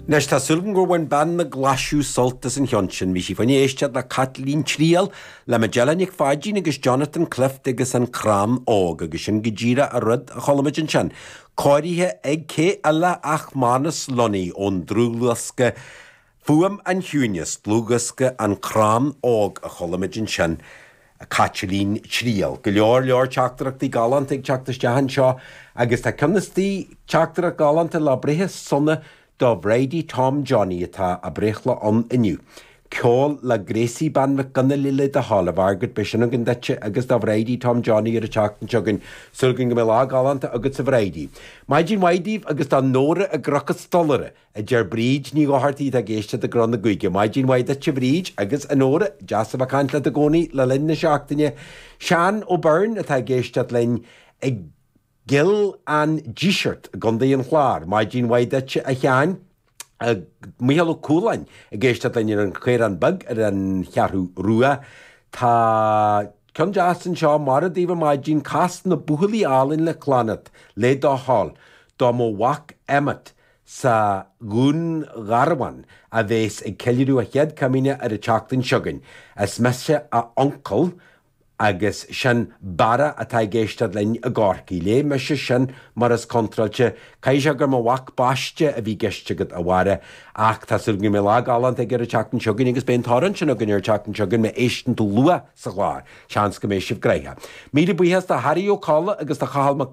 Anois, tá súil agam gur bhain bean na Glaschú sult as an cheann sin. Bhí sí fá choinne éisteacht le Caitlín Triail le Majella Nic Pháidín agus Jonathan Clift agus An Crann Óg agus sin go díreach an rud a chuala muid ansin. Cóirithe ag cé eile ach Manus Lunny ón dlúthdhiosca Fuaim an Chiúinis, dlúthdhiosca An Crann Óg a chuala muid ansin. Caitlín Triail. Go leor leor teachtaireachtaí galánta ag teacht isteach anseo agus tá ceann istigh, teachtaireacht ghalánta lá breithe sona do Bhridie Tom Johnny atá a breithlá ann inniu. Ceol le Gracie Bean Mhic Fhionnghaile le do thoil, a Mhargaret, beidh sin againn duitse agus do Bhridie Tom Johnny ar an tseachtain seo chugainn. Súil againn go mbeidh lá galánta agatsa a Bhridie. Maidin mhaith daoibh agus do Nóra i gCnoc an Stolaire. a deir Bríd Ní Dhochartaigh atá ag éisteacht i gCró na gCuige. Maidin mhaith duit a Bhríd agus a Nóra, deas a bheith ag caint leat i gcónaí le linn na seachtaine. Seán Ó Beirn atá ag éisteacht linn i gCill an Dísirt i gContae an Chláir. Maidin mhaith duit a Sheáin. Mícheál Ó Cualáin ag éisteacht linn ar an Chaorán Beag ar an Cheathrú Rua. Tá ceann deas anseo, Mairfidh daoibh ar maidin, cas Na Buachaillí Álainn le Clannad, le do thoil, do mo mhac Emmet sa Dhún Garbhán a bheas ag ceiliúradh a chéad comaoine ar an tseachtain seo chugainn. Is mise a uncail agus sin Barra atá ag éisteacht linn i gCorcaigh. Léigh mise sin mar is contráilte. Caithfidh sé gur mo mhac baiste a bhí i gceist agat, a Bharra, ach tá súil agam go mbeidh lá galánta aige ar an tseachtain seo chugainn agus beidh an t-amhrán sin againn ar an tseachtain seo chugainn má éisteann tú luath sa chlár. Seans go mbeidh sibh gnoitheach. Míle buíochas do Harry Ó Colla agus do Chathal Mac.